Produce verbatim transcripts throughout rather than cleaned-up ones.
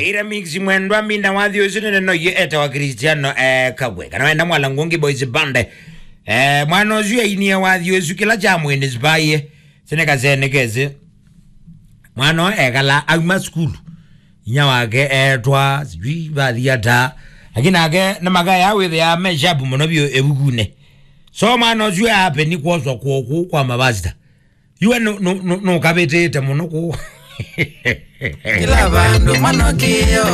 Ira mix mwendwa mina wathi ũsu nene no ye etawa Cristiano, eh, Kagwe. Kana wenda Mwala Ngungi Boys Band. Eh, mwana ũsu ainie wathi ũsu kĩla kya mwene sipaie. Sene kasene kesi. Mwana ũyũ ekala auma sukulu. Inya wake etwa, sijui vathi ata. Lakini nake nĩ makaya wĩthĩa me sharp mũno vyũ ĩvukunĩ. So mwana ũsu ape nĩ kwoswa kwoku kwa mavasita. Yue nũ-, nũ-, nũ-, nũkavĩtĩte mũno kũu. Kila vandu manokio.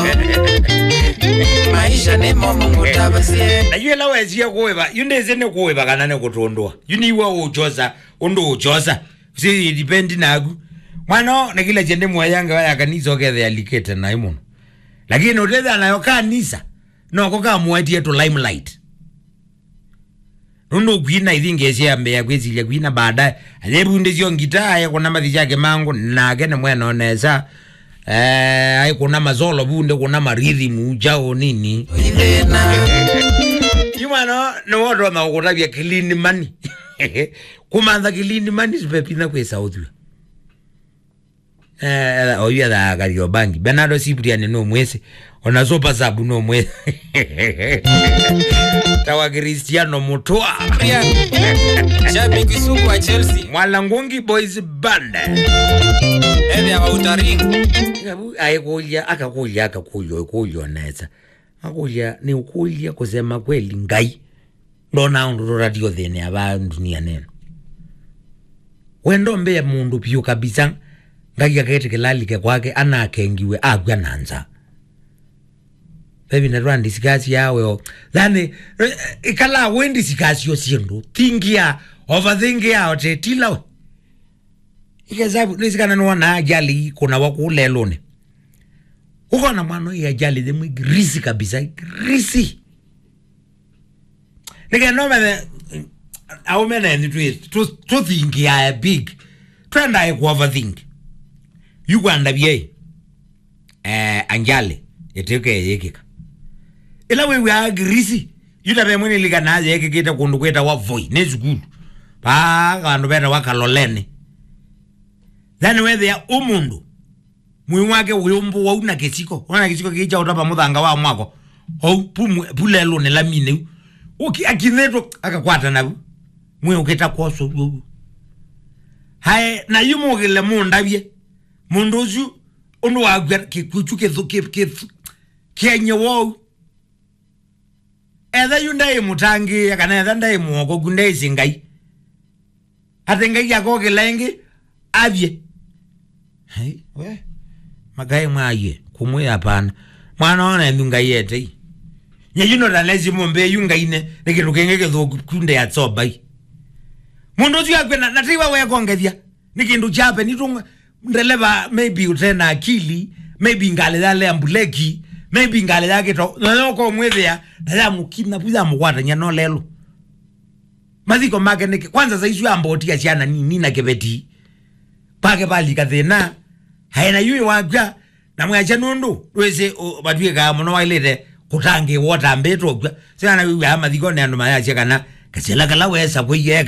Maisha nĩ momo mũtavasye. Na yu ĩla wesie kũĩva, yu ndĩsĩ nĩ kũĩva kana nĩ kũtũndũa. Yu nĩw'a ũũkyosa, ũndũ ũũkyosa. Si depend naku. Mwana, na kila kyende mwayange wa ya kanisa ũkethĩa alikĩte naĩ mũno. Lakini ũtethĩa nayo kanisa, noko kamũetie tũ limelight. Nũndũ kwina ithingi syambĩa kwĩsilya kwina baadaye. Ayevundĩsyo ngita, aekũna mathi syake mangu, nake nĩ mwene nesa. Eh, aikũna masolo vunde, kuna marithimu, jao nini. Ithĩna. Yu mwana, nĩ wotonya kũtavya clean money. Kũmantha clean money, sipepina kwĩsa ũthw'a. Eh, oyu ethaa Kariobangi. Bernardo Cyprian no mwĩsĩ. Ona Super Sub no mwĩsĩ. Tawa Cristiano Mutua. Brian. Shabiki sugu wa Chelsea. Mwala Ngungi Boys Band. Ethĩa wa Utaring. Avu aikũlya, akakũlya, akakũlya, ũkũlya nesa. Akũlya, nĩ ũkũlya kusema kweli Ngai. Ndona ũndũ tũtatiĩ ũthĩnĩa vaa ndunia nene. Wendo mbee mũndũ vyũ kabisa, Ngai aketĩkĩla alike kwake, anakengiwe, akw'a na nza. Vevi na twa discuss yawe o. Yani, eh, ikala we discuss yo syĩndũ. Thingia, overthingia, ote, tila we. Ikesabu, nĩsikana nĩwona ajali kuna wa kũlelũnĩ. Ũkona mwana ũyũ ajali yĩmwe girisi kabisa, girisi. Nĩkenda ũmenye, aũme nenyu twĩ, tũ-, tũthingiae big. Twendae ku overthink. Yu kwandavye, eh, anjali, ĩtĩke yĩkĩka. Ĩla wĩw'aa girisi, yu ta ve mwĩnĩlikana yekĩkĩte kũndũ kwĩtawa Voi, nĩ sukulu. Paa vandũ vetawa Kaloleni. Then wethĩa ũmũndũ, mwĩĩ wake ũyũmbũ wau na kĩsiko. Ona kĩsiko kĩĩ kya ũtava mũthanga wa mwako. Ou, pu mwe-, pu lelũnĩ laminĩ u. Ũki-, akinĩtwo, akakwata navu. Mwĩĩ ũkĩta kwoswa ũguo ũguo. Hae, na yu mũkĩle mũndavye. Mũndũ ũsu, ũndũ wakw'a kĩkw'ũ kyu kĩthũ-, kĩ-, kĩthũ-, kĩenye wou. Etha yu ndaĩ mũtangĩĩa, kana etha ndaĩ mũokoku, ndaĩsĩ Ngai. Atĩ Ngai akokĩla ĩngĩ, athyĩ. Hei, we, makaĩ mwaie, kũmwĩa hapana. Mwana ona enyu Ngai etei. Nye yu no talesi mũmbĩ yu Ngai ne, nĩ kĩndũ kĩngĩ kĩthũku kunde ya tsobai. Mũndũ ũsu akwĩna, na teiwa wekongethya. Nĩ kĩndũ kyape, nĩ tũng'we, ndeleva, maybe ũte na akili, maybe ngalĩ yalea mbuleki, maybe ngalĩ yakĩta, na yoko mwĩthĩa, na yamũkina, vu yamũkwatany'a no lelũ. Mathiko make nĩkĩ? Kwanza saisu ambotia syana nini na kĩveti. Pake palika thĩna, aena yu wakw'a, na mwasya nũndũ, ndwĩsĩ, ũ-, vatw'ĩkaa mũno wailĩte kũtangĩĩwa ũtambĩtwe ũkw'a. Syana wĩw'aa mathikonĩ andũ mayasya kana, kasĩla kala wesa kwĩyeka.